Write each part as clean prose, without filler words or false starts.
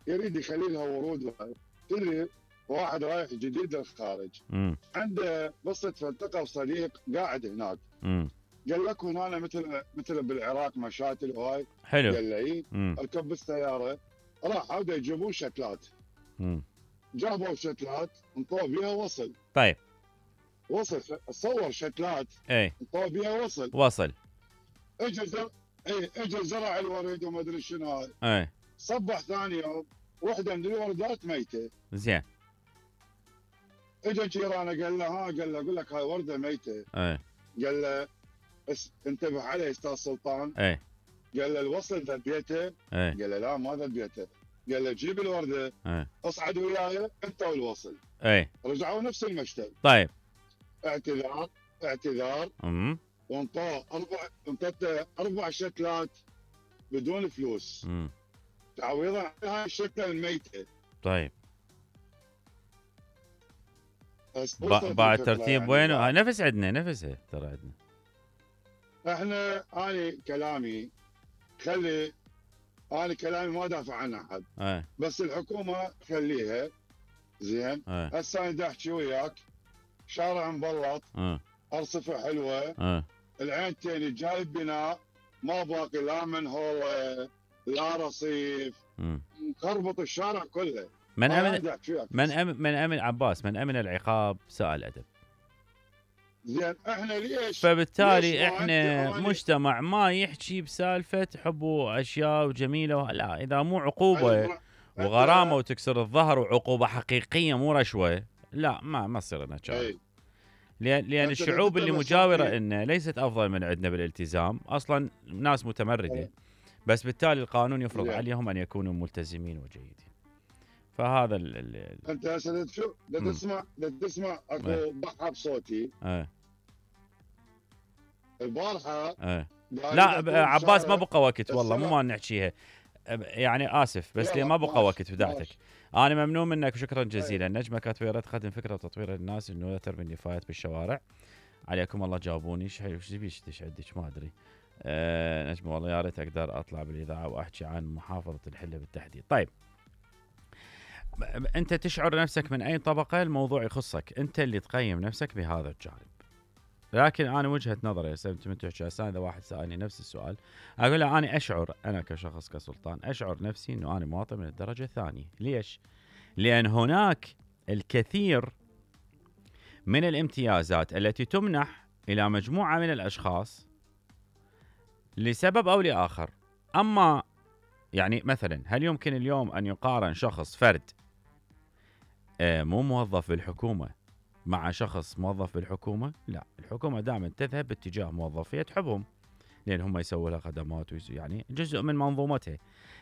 يريد يخلي لها ورود. تدري واحد رايح جديد للخارج عنده قصه، فالتقى صديق قاعد هناك قال لك هنا مثل بالعراق مشاتل وهاي. حلو. قال له اي. ركب بالسياره راح عوده يجيبون شتلات. جابوا شتلات انطوا بيها وصل. طيب وصل صور شتلات اي انطوا بيها وصل. اجى زرع الورد وما ادري شنو هذا. اي صبح ثاني يوم وحده من الوردات ميته. زين. اجى جيرانه قال له قال له اقول لك هاي ورده ميته. اي قال له انتبه عليه استاذ سلطان. اي قال له الوصل ذبيته. قال له لا ما ذبيته. قال له جيب الورده. اصعد وياي انت والوصل. رجعوا نفس المشتل. طيب اعتذار وانطاه 4 شتلات بدون فلوس تعويضا عن هاي الشتله الميته. طيب بعد ترتيب يعني وين؟ نفس عندنا نفسها ترى عندنا احنا. انا كلامي ما دافع عن احد. بس الحكومه خليها زين. هسه انا احكي وياك شارع مبلط. ارصفه حلوه. العينتين جايب بناء ما باقي لا منهوله لا رصيف. مخربط الشارع كله. من امن عباس من امن العقاب سائل ادب. زين احنا ليش؟ فبالتالي احنا مجتمع ما يحكي بسالفه حب واشياء وجميله. لا اذا مو عقوبه وغرامه وتكسر الظهر وعقوبه حقيقيه مو رشوه، لا ما تصير لنا شغله. لان الشعوب اللي مجاوره لنا ليست افضل من عندنا بالالتزام، اصلا ناس متمرده. بس بالتالي القانون يفرض عليهم ان يكونوا ملتزمين وجيدين. فهذا انت هسه تسمع اكو ضحى بصوتي. البارحه لا عباس ما بقى وقت والله مو ما نحكيها يعني اسف بس لي ما بقى وقت بداعتك. انا ممنون منك وشكرا جزيلا. نجمه كاتويره تقدم فكره وتطوير للناس انه لا ترمي النفايات بالشوارع. عليكم الله جاوبوني ايش بيش عندك ما ادري. نجمه والله يا ريت اقدر اطلع بالاذاعه واحكي عن محافظه الحله بالتحديد. طيب انت تشعر نفسك من اي طبقه؟ الموضوع يخصك انت اللي تقيم نفسك بهذا الجانب. لكن انا وجهه نظري انت من تحكي هسه اذا واحد سالني نفس السؤال اقول له انا اشعر انا كشخص كسلطان اشعر نفسي انه انا مواطن من الدرجه الثانيه. ليش؟ لان هناك الكثير من الامتيازات التي تمنح الى مجموعه من الاشخاص لسبب او لاخر. اما يعني مثلا هل يمكن اليوم ان يقارن شخص فرد مو موظف بالحكومه مع شخص موظف بالحكومه؟ لا، الحكومه دائما تذهب باتجاه موظفيه تحبهم لان هم يسووا لها خدمات يعني جزء من منظومتها.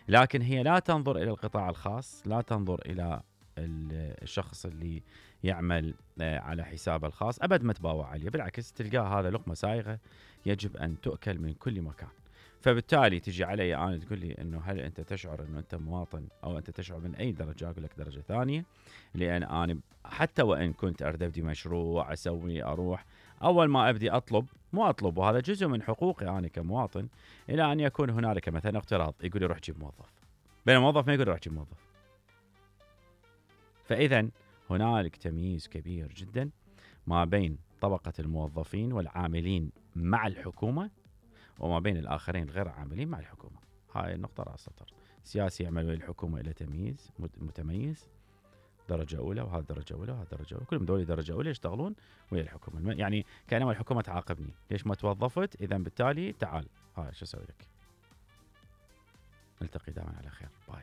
لكن هي لا تنظر الى القطاع الخاص، لا تنظر الى الشخص اللي يعمل على حسابه الخاص ابد ما تباوع عليه. بالعكس تلقاه هذا لقمه سايغه يجب ان تؤكل من كل مكان. فبالتالي تجي علي انا تقول لي انه هل انت تشعر انه انت مواطن او انت تشعر من اي درجه؟ اقول لك درجه ثانيه. لان انا حتى وان كنت ابدي مشروع اسوي اروح اول ما ابدي مو اطلب وهذا جزء من حقوقي انا كمواطن الى ان يكون هنالك مثلا اقتراض يقول لي روح جيب موظف، بين الموظف ما يقول روح جيب موظف. فاذا هنالك تمييز كبير جدا ما بين طبقه الموظفين والعاملين مع الحكومه وما بين الآخرين غير عاملين مع الحكومة. هاي النقطة رأس سطر. سياسي يعمل ويا الحكومة إلى تمييز متميز درجة أولى وهذا درجة أولى وهذا درجة أولى، كلهم دول درجة أولى يشتغلون ويا الحكومة. يعني كأنما الحكومة تعاقبني ليش ما توظفت، إذا بالتالي تعال هاي شو أسوي لك. نلتقي دائما على خير. باي.